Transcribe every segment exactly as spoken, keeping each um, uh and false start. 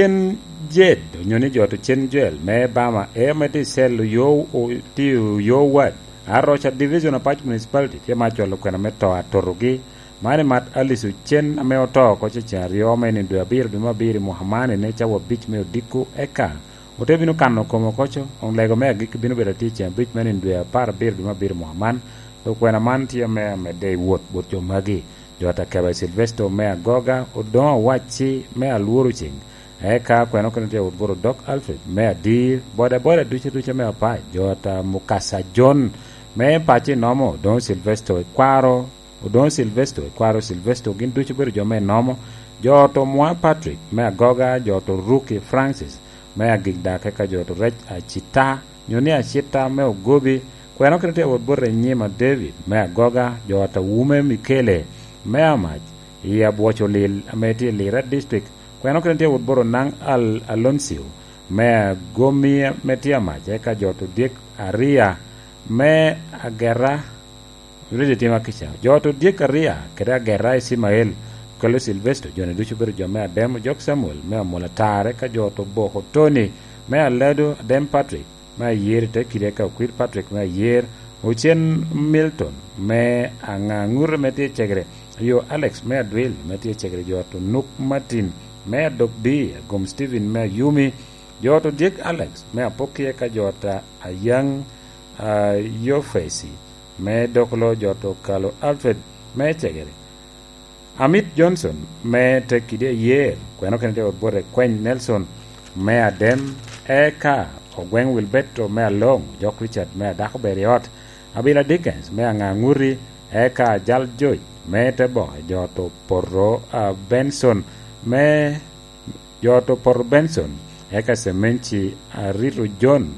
Cen Jed, onyo ni jo to cen Joel, me Bama, e ame tye i cell oyo, o-, tye oyo wad. Aroca Division Apac Municipality tye ma acwalo kwena me to atotogi. Man i mat Alice Ocen ame oto oko cecen aryo me nino dwe abiro, dwe me abiro i mwaka man, ene cawa abic me odiko eka. Ote bino kano kome oko co, onlego me agikki bino bedo atye i cen abic me nino dwe apar abiro, dwe me abiro i mwaka man. Dok kwena man tye me amedde i wot bot jo magi. Jo Atakeba Silvesto me Agoga, Odoŋo Awacci me Alworo Ceng, eka kwena okene tye wot bot Odok Alfred me Adir, bodaboda ducu ducu me Apac, jo Ata Mukasa John me paco i Nomo, Odoŋo Silvesto i Kwaro, Odoŋo Silvesto i Kwaro Silvesto, gin ducu obedo jo me Nomo, jo Oto Mwa Patrick me Agoga, jo Oto Ruki Francis me Agikdak, eka jo Oto Rec Acita, nyo ni Acita me Ogobi, kwena okene tye wot bot Enyima David me Agoga, jo Ata Wume Mikele me Amac, i Abwoco Lil ame tye i Lira District, kwena okene tye wot bot Onaŋ Al-, Aloncio me Agomi ame tye Amac, eka jo Oto Dyek Aria me Agera, Rwede tye ma kica. Jo Oto Dyek Aria kede Agera Icimael, okelo Silvesto, jo-ni ducu obedo jo me Adem, Ojok Samuel me Amola Tar, eka jo Oto Boko Tony me Alado, Adem Patrick me Ayer i te kidi, eka Okwir Patrick me Ayer, Ocen Milton me Aŋaŋute me tye i Cegere, yo Alex me Adwil me tye i Cegere, jo Oto Nuk Martin me Adok Bi, Agom Steven me Ayumi, jo Oto Dyek Alex me Apoki, eka jo Ata Ayaŋ, ah, Yofesi me Dokolo, jo Oto Kalo Alfred me Cegere, Amit Johnson me Tekidi Ayer, kwena okene tye wot bot Ekweny Nelson me Adem, eka Ogweŋ Wilberto me Aloŋ, Ojok Richard me Adako Ber i Ot, Abila Dickens me Aŋaŋuti, eka Ajal Joc me Teboke, jo Oto Poto, ah, Benson me jo Oto Poto Benson, eka Cemenci Arito John,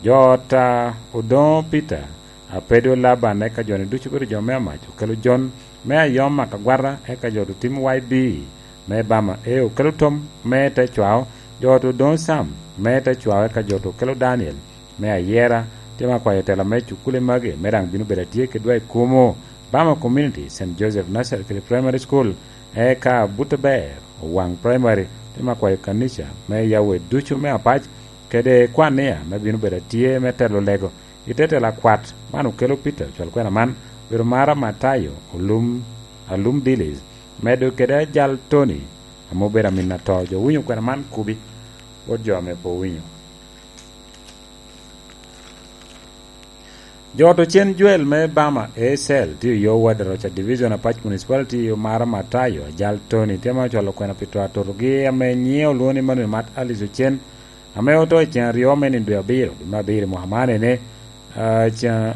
jo Ota Odoŋo Peter, Apedo Laban, eka jo-ni ducu obedo jo me Amac, okelo John me Ayom Akagwata, eka jo Oto Tim Y B me Bama, e okelo Tom me Tecwao, jo Oto Odoŋo Sam me Tecwao, eka jo Oto okelo Daniel me Ayera. Tye ma kwayo tela me cukule magi me daŋ bino bedo atye kedwa i Kumo, Bama Community, Saint Joseph Nursery kede Primary School, eka Buteber, Owaŋ Primary, tye ma kwayo kanica me Yahweh ducu me Apac, kede kwania me bino bedo atye me telo lego i te tela kwat. Man okelo Peter ocwal kwena man, obedo Mara Matayo, Olum, Alum Dilis, medo kede Ajal Tony, ame obedo amin ato. Jo winyo kwena man kubi, wot jo ame pe owinyo. Jo Oto Cen Joel me Bama A Cell tye oyo wad Aroca Division Apac Municipality, omaro Matayo Ajal Tony, tye ma ocwalo kwena pi to atotogi ame nyiŋe olwoŋo ni Manuel Mat Alice Ocen, ame oto i ceŋ aryo me nino dwe abiro, dwe me abiro i mwaka man ene, ah, ceŋ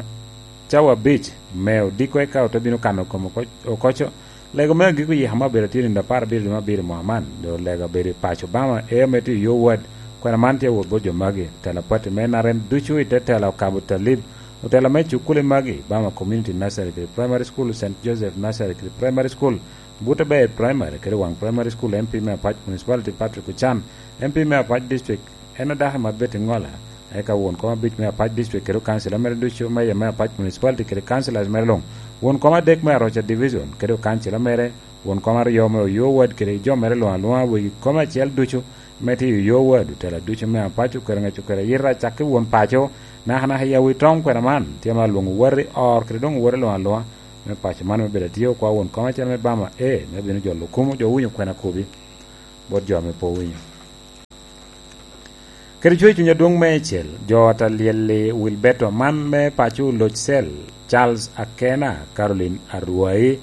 cawa abic me odiko eka ote bino kano kome oko, oko co. Lego me agiko yika ma obedo tye nino apar abiro dwe me abiro i mwaka man, doŋ lego abedo i paco Obama, ea me tye i yo wad. Kwena man tye awot bot jo magi, tela pati me N R M ducu i te tela okabo Talib, otela me cukuli magi, Bama Community Nursery kede Primary School, Saint Joseph Nursery kede Primary School, Buteber Primary kede Waŋ Primary School, M P me Apac Municipality Patrick Ochan, M P me Apac District, en adako i Mabet i Ŋola, eka won kom abic me Apac District kede okancila mere ducu, meya me Apac Municipality kede councilors mere luŋ, won kom adek me Aroca Division kede okancila mere, won kom aryo me Oyo Ward kede jo mere luŋ aluŋa, wegi kom acel ducu me tye i Oyo Ward, otela ducu me Apac, Okere Ŋec, Okere Ayita, cakki won paco, nakanaka i Awitoŋ kwena man, tye ma alwoŋo wati or kede doŋ wati luŋ aluŋa me paco man me bedo atye okwa won kom acel me Bama A, me bino jolo kumo jo winyo kwena kubi bot jo ame pe owinyo. Kede cwer cuny adwoŋ meicel, jo ata lyel-li Wilberto man me paco Oloc Cell, Charles Akena, Caroline Arwai,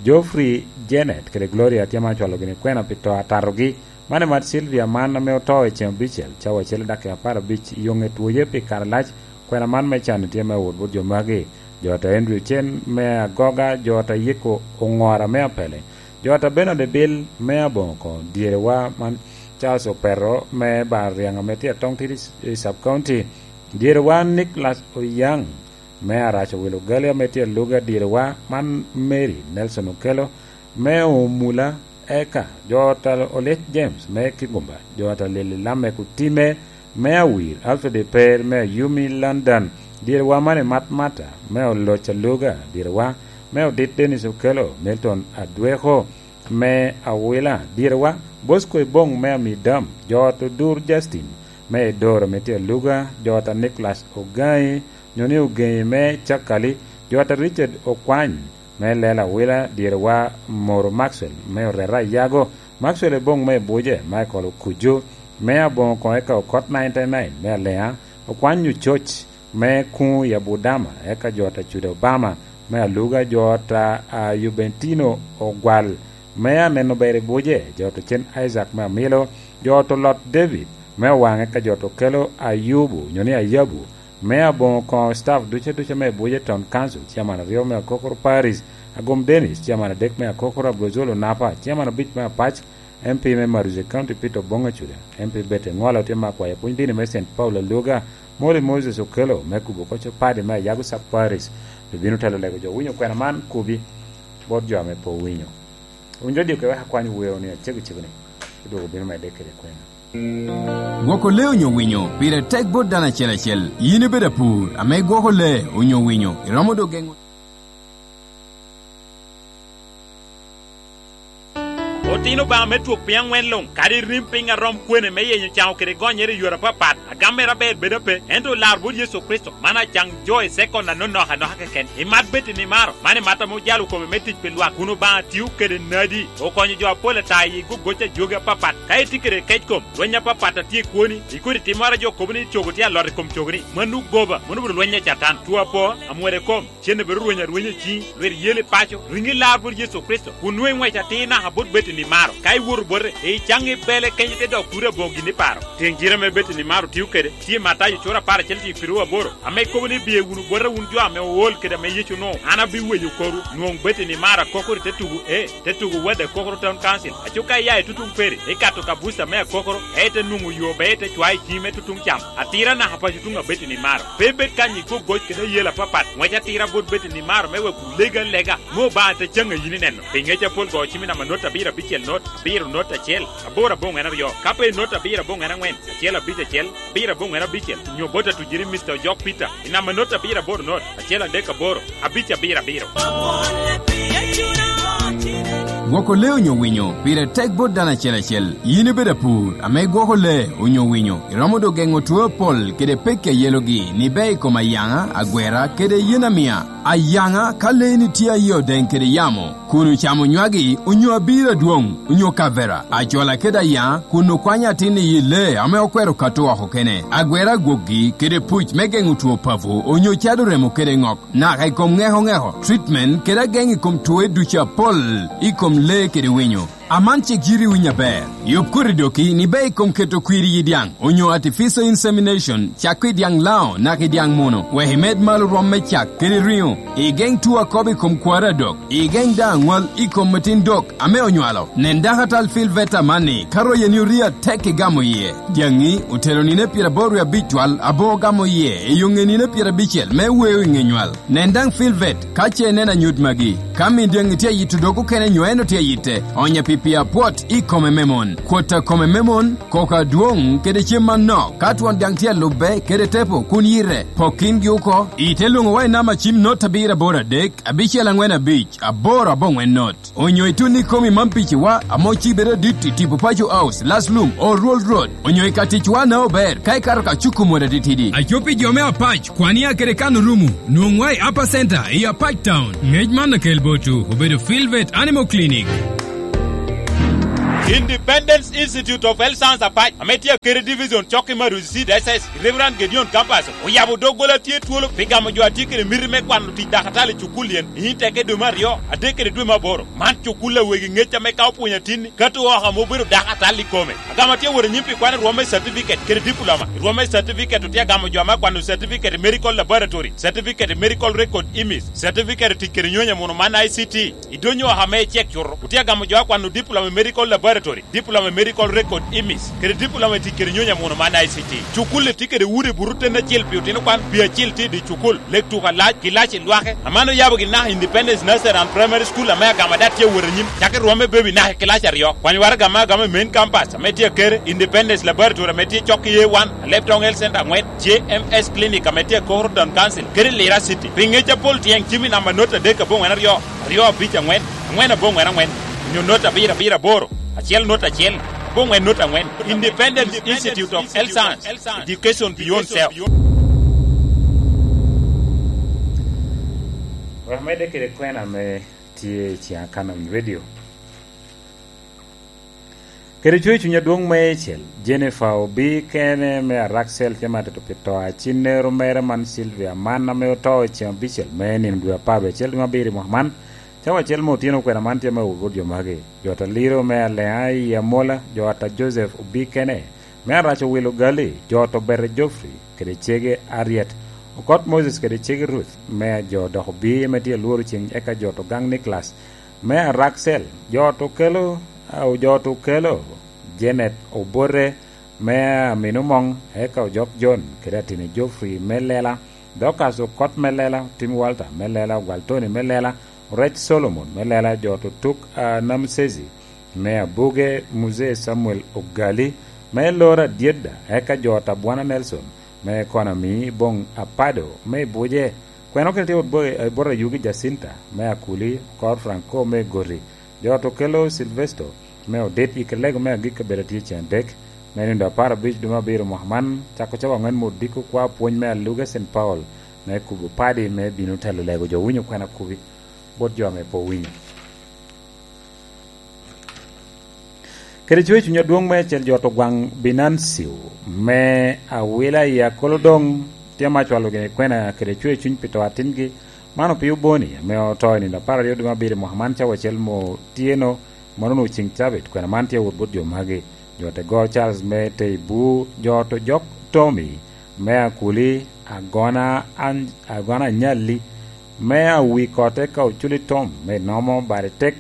Geoffrey Janet kede Gloria tye ma ocwalo gini kwena pi to atatogi. Man emat Sylvia man ame oto i ceŋ abicel, cawa acel i dakika apar abic, i yoŋe twoye pi kare lac, kwena man me can tye me wot bot jo magi. Jo ata Andrew Cen me Agoga, jo ata Yiko Oŋora me Apele, jo ata Bernard Ebil me Abongo, dyerewa man Charles Opeto me Bariaŋ ame tye Atong Tidi i Sub County, dyerewa Nicholas Oyaŋ me Arac Owil Ogali ame tye Aluga, dyerewa man Mary Nelson Okello me Omula, eka jo ata Olec James me Kigumba, jo ata Lili Lamek Otime me Awir, Alfred Eper me Ayumi London, dyerewa man Emat Mata me Oloc Aluga, dyerewa me Odit Dennis Okello, Milton Adweko, me Awila, dyerewa, Bosco Ebong me Amidam, jo ot Odur Justin me Edoro me tye Aluga, jo ot a Nicholas Ogai, nyo ni Ogeŋi me Cakali, jo ot a Richard Okwany me Lela Awila, dyerewa Moro Maxwell me Oreta Ayago, Maxwell Ebong me Ebuje, Michael Okuju me Aboŋo Koŋ eka Okot ninety nine me Aleŋa, Okwany Ococ me Kuŋ i Abudama, eka jo ot a Cuda Obama me Aluga, jo ot a, a Juventino Ogwal me Aneno Ber i Buje, jo ot Ocen Isaac me Amilo, jo ot Olot David me Owaŋ, eka jo ot Okelo Ayubu, nyo ni Ayabu, me Aboŋo Koŋo staff duce duce me Buje Town Council, chairman aryo me Akokoro Parish, Agom Dennis, chairman adek me Akokoro, Abrozolo Napa, chairman abic me Apac, M P me Maruzi County Peter Oboŋ Acuda, M P Betty Ŋwala otye me akwayo pwony dini me Saint Paul Aluga, Molly Moses Okello me kubo koc opadi me Ayago Sub Parish, obino telo lego jo winyo kwena man kubi bot jo ame pe owinyo. Winy radio ke wek akwany weo ni acego cego ni, odwogo bino medde kede kwena. Gwoko lee onyo winyo pire tek bot dano acel acel. Yin ibedo apur ame igwoko lee onyo winyo, iromo dok geŋo. Otino Obaŋa me twok piny aŋwen luŋ, kadi rim piny a rom kwene me yenyo caŋo kede gonyere i yore apapat, agam mere aber bedo ape, ento olar bot Yecu Kricito, man acaŋ jo i sekon anonok anoka keken. Imat bed i nimaro, man imat ame ojalo kome me tic pi lwak, kun Obaŋa tio kede nadi, okonyo jo apol ata i gogoc a jogi apapat. Ka itye kede kec kom, lweny apapat a tye i kwoni, i kodi timmoro a jo kobo ni cogo tye alot i kom cogoni, mano goba, mano obedo lweny a Catan, two apo, amwode kom, cen abedo rweny arwenya i ciŋi, lwet yel i paco, riŋi lar bot Yecu Kricito, kun nwoŋo iŋwec atir naka bot Betty Nimaro. Ka iwoto bote, icaŋ i bele kenyo te dok turi aboŋo gin iparo. Teŋ cite ame Betty Nimaro tio kede, tye Matayo cura apar acel tye piru aboro, ame kobo ni, "Biye wunu bota wun jo ame ool kede ame Yecu onwoŋo, an abiwenyo korwu." Nwoŋo Betty Nimaro akokoro i te tugo, e, te tugo wade Akokoro Town Council. Aco ka iya i tutuŋ peri, ikato ka buca me Akokoro, ka ite nwoŋo yo, be ite cwayo i ciŋi me tutuŋ cam. Atira naka paco tuŋ abed i nimaro. Pe ibed kany i gogoc kede ayela apapat. Ŋwec atira bot bed i nimaro me wek olega alega, me Obaŋa te caŋ a yin ineno. Pi ŋec apol go cim i namba not abiro abicel not, abiro not acel, aboro aboŋwen aryo. Ka pe not abiro aboŋwen aŋwen, acel abic acel, abiro aboŋwen abicel, nyo bot atuciri Mister Ojok Peter, i namba not abiro aboro not, acel adek aboro, abic abiro abiro. Gwoko lee onyo winyo pire tek bot dano acel acel. Yin ibedo apur ame igwoko lee onyo winyo, iromo dok geŋo two apol kede pekki a yelogi ni bea i kom ayaŋa, agwera, kede yen amia. Ayaŋa, ka leeni tye a yie odeŋ kede yamo, kun ocamo nywagi, onyo abiro adwoŋ, onyo kavera, acwala kede ayaŋa, kun okwanyo atin i yi lee ame okwero kato oko kene, agwera agwokgi, kede puc me geŋo two papo, onyo cado remo kede ŋok, naka i kom ŋeko ŋeko, treatment, kede ageŋ i kom twoe ducu apol i kom lee kede winyo. Aman cik yiti winyo aber. Yub koti doki ni bea i kom keto kwir i yi dyaŋ, onyo artificial insemination, cak i dyaŋ Laŋo naka i dyaŋ muno, wek imed malo rwom me cak kede riŋo. Igeŋ two akobo i kom kwaro adok. Igeŋ daŋ aŋwal i kom atin dok ame onywalo. Nen dakatal Phil Veta amanni, ka royeni orio atek igamo iye. Dyaŋi otero nino pyeraboro wie abic twal aboŋo gamo iye i yo ŋe nino pyerabicel me weo i ŋe nywal. Nen daŋ Phil Vet ka ce ineno anyut magi. Ka min dyaŋi tye ayito dog okene nyo en otye ayitte, onye pi pii apwot i kome me mon. Kwot a kome me mon, koko adwoŋ kede cem manok. Ka twon dyaŋ tye alubbe kede tepo kun yite, pok kingi oko. Ite lwoŋowa i namba cim not abiro aboro adek, abicel aŋwen abic, aboro aboŋwen not. Onyo itun ikomi man piciwa ame ocibere adit i tipo Paco House, Last Lum, Old Road, onyo i ka ticwa na ober, ka ikato ka cuku mot atitidi. Aco pi jo me Apac, kwan ia kede kan orumo, nwoŋwa i Upper Center, i Apac Town. Ngec man akel botwu, obedo Filvet Animal Clinic. Independence Institute of Health Science Apac, ame tye akede division cok i Maruzi C D S S, Reverend Gedeon Campus, oyabo doggola tye twolo pi gamo jo a tye kede miti me kwano tic dakatali i cukul yen, i nyim teke dwe me aryo, adek kede dwe me aboro. Man cukul a wegi ŋec ame ka opwonyo atinni, kato oko ame obedo dakatal i kome. Agamo atye wot anyim pi kwano rwom me certificate kede diploma. I rwom me certificate otye agamo jo ame akwano certificate i medical laboratory, certificate i medical record image, certificate i tic kede nyonyo muno man I C T. I donyo oko ame icek cuto, otye agamo jo akwano diploma i medical laboratory, diploma i medical record image, kede diploma i tic kede nyonyo muno man I C T. Cukul-li tye kede udi buto ten acel pi otino kwan, pi acil tye i dye cukul. Lek tuko alac, gilac i lwake. Aman oyabo gin naka Independence Nursery and Primary School ame agamo ada tye awot anyim, cako i rwom me baby naka i kilac aryo. Kwany waraga ame agamo i main campus ame tye akere, Independence Laboratory ame tye cok i A one, Alebtong Health Center aŋwen, J M S Clinic ame tye akoro Town Council, kede Lira City. Pi ŋec apol tyeng cim i namba not adek aboŋwen aryo, aryo abic aŋwen, aŋwen aboŋwen aŋwen. nyo not abiro abiro aboro, acel not acel, aboŋwen not aŋwen. Independent Institute of Health Science, education beyond self. Wek amedde kede kwena ame tye i Ciaŋ Akanon Radio. Kede cwer cuny adwoŋ meicel, Jennifer Obi kene me Araksel tye matito pi to a cinnero mere man Sylvia man ame oto i ceŋ abicel me nino dwe apar wie acel dwe me abiro i mwaka man. Cawa acel me otyeno kwena man tye me wot jo magi. Jo ata Liro me Aleŋa i Amola, jo ata Joseph Obi kene me Arac Owil Ogali, jo ata Obete Geoffrey kede cege Ariet, Okot Moses kede cege Ruth me jo dok Obi me tye lworo ceng eka jo ata Ogang Nicholas me Araksel, jo ata Okelo, a, jo ata Okelo, Janet Obote me Amino Moŋ, eka Ojok John kede Atini Geoffrey me Lela, Dorcas Okot me Lela, Tim Walter me Lela, Ogwal Tony me Lela, Orec Solomon me Lela, jo ata Otuk, a, Namsezi me Abuge, Muzee Samuel Ogali me Loro Adyedda, eka jo ata Bwana Nelson me Konami, Boŋ Apado me Ibuje, kwena kene tye wot bo-, e bot Ayugi Jacinta me Akuli, Okor Franco me Goti, jo ata Okelo Silvesto me Odit, i Kelego me Agikki Abeda tye ceŋ adek, me nino apar abic dwe me abiro mwaka man, cako cawa aŋwen me odiko kwa pwony me Aluga Saint Paul me kubo padi me bino telo lego jo winyo kwena kubi bot jo ame pe owinyo. Kede cwer cuny adwoŋ meicel jo ata Ogwaŋ Binancio me Awila i Akolodoŋ tye ma cwalo gini kwena kede cwer cuny pi to atingi. Man opio Boni ame oto i nino apar aryo dwe me abiro i mwaka man cawa acel me otyeno, mano onwoŋo ceŋ cabit. Kwena man tye wot bot jo magi: jo ata Goro Charles me Teibu, jo ata Ojok Tommy me Akuli, Agona An-, Agona Anyalli me Awikot, eka Oculi Tom me Nomo, Bade Tek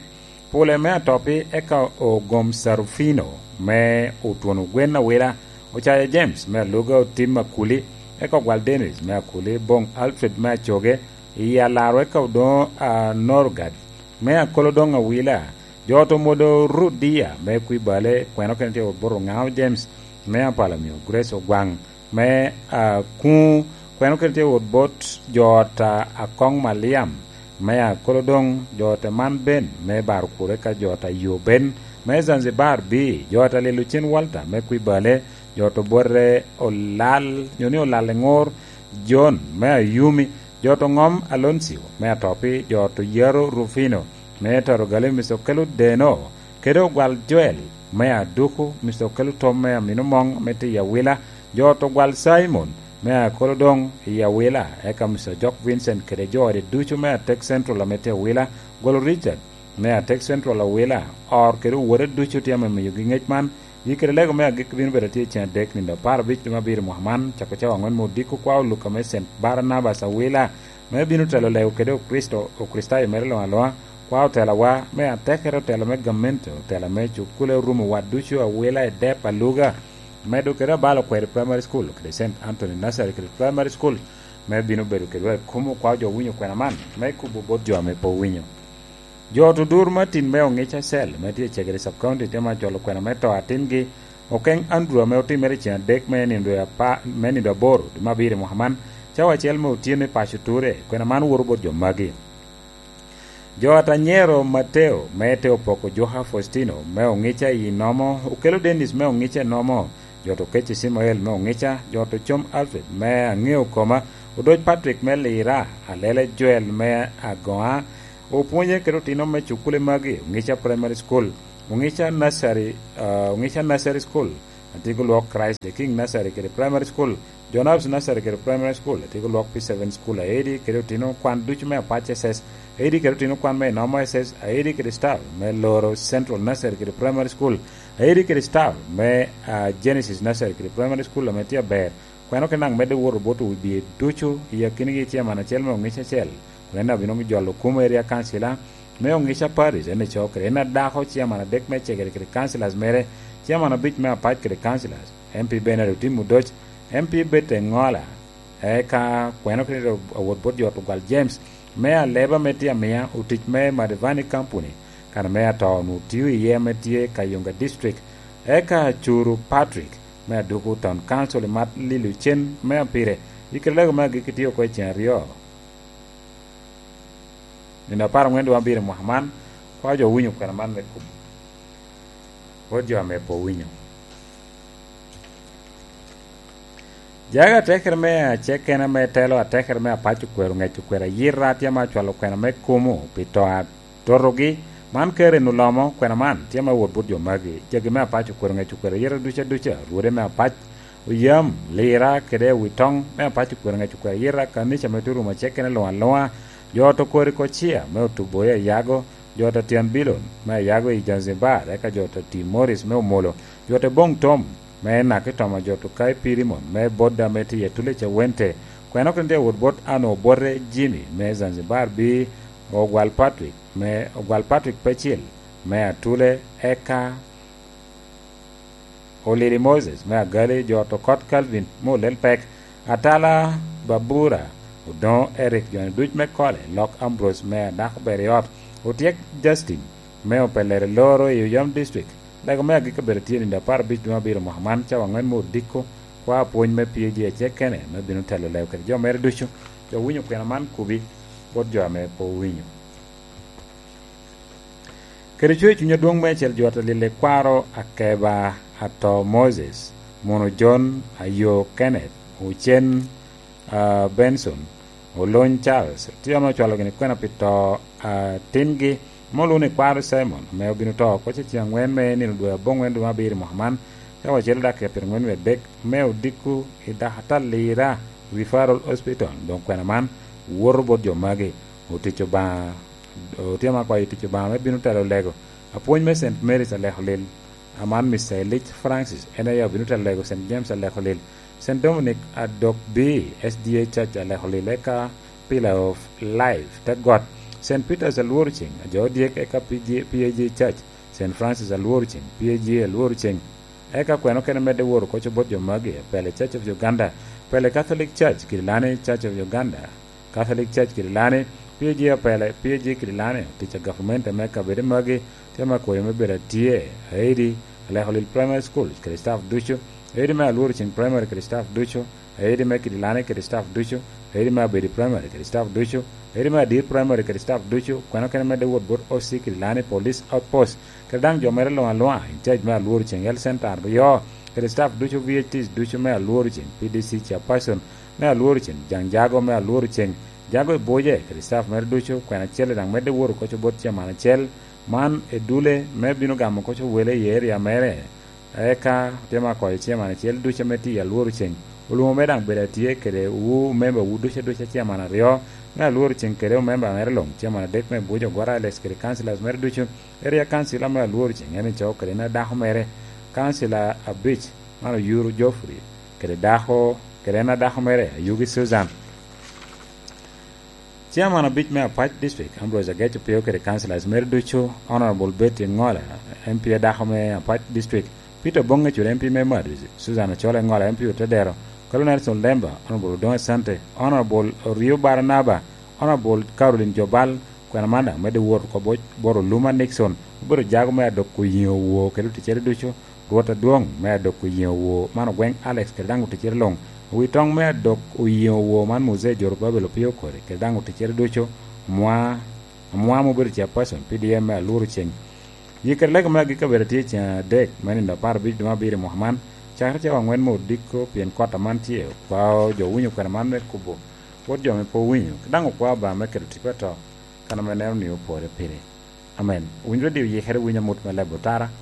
Pule me Atopi, eka Ogom Sarufino me Otwono Gwen Awila, Ocaya James me Aluga, Otim Akuli, eka Ogwal Dennis me Akuli, Boŋ Alfred me Acoge, i Alaro, eka Odoŋo Anorgad me Akolodoŋ Awila, jo ata Omwodo Rudia me Kwibale, kwena kene tye wot bot Oŋao James me Apalamio, Grace Ogwaŋ me Akuŋo, kwena kene tye wot bot jo ata Akoŋ Maliam me Akolodoŋ, jo ata Man Ben me Barokuro, eka jo ata Yo Ben me Zanzibar Bii, jo ata Lilo Cen Walter me Kwibale, jo ata Obote Olal, nyo ni Olal Eŋor John me Ayumi, jo ata Oŋom Aloncio me Atopi, jo ata Oyaro Rufino me Torogali, Mister Okelo Deno, kede Ogwal Joel me Aduku, Mister Okelo Tom me Amino Moŋ me tye i Awila, jo ata Ogwal Simon me Akolodoŋ i Awila, eka Mister Ojok Vincent kede jo ode ducu me Atek Central ame tye i Awila, Ogwal Richard me Atek Central Awila, Or kede owode ducu tye ame miyogi ŋec man. Yi kede lego me agikki bino bedo atye i ceŋ adek, nino apar abic dwe me abiro mwaka man, cako cawa aŋwen me odiko kwa Oluka me Saint Barnabas Awila, me bino telo lego kede Okricito, Okricitayo mere luŋ aluŋa, kwa otelawa me atekere, otela me gamente, otela me cukule, orumo wa ducu Awila i dep Aluga, medo kede abalo kwede Primary School kede Saint Anthony Nursery kede Primary School, me bino bedo kedwa i kom okwa jo winyo kwena man, me kubo bot jo ame pe owinyo. Jo ata Odur Martin me Oŋica Cell, me tye i Cegere Sub County, tye ma cwalo kwena me to atingi, Okeŋ Andrew, ame otimere i ceŋ adek me nindo apa-, me nindo aboro dwe me abiro i mwaka man, cawa acel me otyeno i paco Ture. Kwena man woto bot jo magi: jo ata Nyero Mateo me te Opoko, Juka Faustino me Oŋica i Nomo, Okelo Dennis me Oŋica i Nomo, jo ata Okecci Cimael me Oŋica, jo ata Ocom Alfred me Aŋeo Koma, Odoc Patrick me Lira, Alele Joel me Agoŋa, Opwonye kede otino me cukule magi, Oŋica Primary School, Oŋica Nursery, ah, Oŋica Nursery School, Atigo Lwok Christ the King Nursery kede Primary School, John Hobbs Nursery kede Primary School, Atigo Lwok P seven School, Aedi kede otino kwan ducu me Apac S S, Aedi kede otino kwan me Inomo S S, Aedi kede staff me Loro Central Nursery kede Primary School, Aedi kede staff me, ah, Genesis Nursery kede Primary School ame tye aber. Kweno kede naŋ medde woto bot owibie ducu i akinigi, ciaman acel me Oŋica Acel, kun en abino jolo kumo area councilor me Oŋica Parish, en ico kede en adako, ciaman adek me Cegere kede councilors mere, ciaman abic me Apac kede councilors, M P Bernard Otim Odoc, M P Bete Ŋola, eka kweno kede awot bot jo Ogwal James me Aleba me tye amia otic me Madivani Company, kan me ato onwoŋo tio iye ame tye Kayunga District, eka Curu Patrick me Aduku Town Council i mat lilo cen me apire. I kede lego me agikki tye oko i ceŋ aryo, nino apar aŋwen dwe abiro mwaka man, Kwa jo owinyo kwena man me kubo. Wot jo ame pe owinyo. Jaga atekere me acekene me telo atekere me apac okwero ŋec okwero ayira tye ma acwalo kwena me kumo pi to atotogi. Man kare nu lomo kwena man tye ma wot bot jo magi. Jagi me apac okwero ŋec okwero ayira duca duca. Rwode me apac oyam lira kede wi toŋ me apac okwero ŋec okwero ayira kanica me turum acekene luŋ aluŋa. Jo to kori kociya me otubo i ayago. Jo to tyen bilon me ayago i Zanzibar, eka jo to ti Morris me omolo. Jo to boŋ tom me naki tomo jo to kai pirimon me bodda me tiye tule cawente. Kweno kene tye wot bot ano bote Jimmy me Zanzibar bi ogwal Patrick me ogwal Patrick Pecil me atule eka Olili Moses me agali, jo to kot Calvin me olel pek, Atala Babura, Odoŋo Eric, joni duc me Kole, Lok Ambrose me adako ber i ot, Otyek Justin me opelere loro i Oyam District. Lego me agikki obedo tye nino apar abic dwe abiro mwaka man, cawa angwen me odiko, kwa apwony me P A G acekene me bino telo lego kede jo mere ducu. Jo winyo kwena man kubi bot jo ame pe owinyo. Kede cwer cuny adwoŋ meicel jo ata lille kwaro akeba ato Moses, muno John, ayo Kenneth, ocen, ah, Benson, olony Charles, tye ame ocwalo gini kwena pi to atingi, ame olwoŋo ni kwaro Simon, ame obino to oko cecen angwen me nino dwe aboŋwen dwe me abiro i mwaka man, ka wacel dakika pyerangwen wie adek, me odiko i dakatal lira Referral Hospital, doŋ kwena man woto bot jo magi. Otic Obaŋa, otye ma kwayo tic Obaŋa me bino telo lego. Apwony me Saint Mary's Alekolil, aman Mister Elijah Francis, en aye obino telo lego Saint James Alekolil, Saint Dominic Adok B, S D A Church Alekolil, eka Pillar of Life, te got, Saint Peter's Alworo Ceng, ajo dyek, eka P G, P A G Church, Saint Francis Alworo Ceng, P A G Alworo Ceng, eka kweno kene medde woro koco bot jo magi, pele Church of Uganda, pele Catholic Church, Kirilani Church of Uganda, Catholic Church Kirilani, P A G apele, P A G Kirilani, tic a gavumenti me kabedo magi, tye ma koyo me bedo atye, aidi, Alekolil Primary School, kede staff ducu, aidi me Alworo Ceng Primary kede staff ducu, aidi me Kirilani kede staff ducu, aidi me Abedi Primary kede staff ducu, aidi me Adir Primary kede staff ducu, kweno kene medde wot bot O C Kirilani Police Outpost, kede daŋ jo mere luŋ aluŋa, in charge me Alworo Ceng Health Center aryo, kede staff ducu V H Ts ducu me Alworo Ceng, P D C chairperson me Alworo Ceng, Jaŋ Jago me Alworo Ceng, Jago i Buje, kede staff mere ducu, kwena acel daŋ medde woro koco bot chairman acel, man edule me bino gamo koco wele i area mere, eka tye ma koyo chairman acel ducu ame tye i Alworo Ceng. Olwoŋo me daŋ bedo atye kede wu member wu ducu ducu chairman aryo me Alworo Ceng kede member mere luŋ, chairman adek me Buje Ogwara Alex kede councillors mere ducu. Area councillor me Alworo Ceng en ico kede en adako mere, councillor abic, man Oyuru Geoffrey, kede dako, kede en adako mere, Ayugi Susan. Chairman abic me Apac District, Ambrose Ageco Pio kede councillors mere ducu, Honorable Betty Ngola, M P adako me Apac District, Peter Bonge Cura M P me Madrid, Susan Achol Engola M P Otedero, Kalo Nelson Lemba, Honorable Odongo Asante, Honorable Orio Baranaba, Honorable Caroline Jobal, kwena man daŋ medde wot oko bo-, bot Oluma Nixon, obedo jago me adok oyiŋo woo kede oticere ducu, Rwot adwoŋ me adok oyiŋo woo man ogweŋ Alex kede daŋ oticere luŋ, wi toŋ me adok oyiŋo woo man Muzee Jorobabel Opio Okori kede daŋ oticere ducu, omwa, omwa ma obedo chairperson P D M me Alworo Ceng. Yie kede lego me agikki abedo tye i ceng adek me nino apar abic dwe me abiro i mwaka man, cakere cawa angwen me odiko, pien kot aman tye, okwao jo winyo kwena man me kubo, wot jo ame pe owinyo, daŋ okwao Obaŋa me keto tipo ato, kan ame neno ni opore pire. Amen. Owinyo radio yikere winyo amut me leb otara,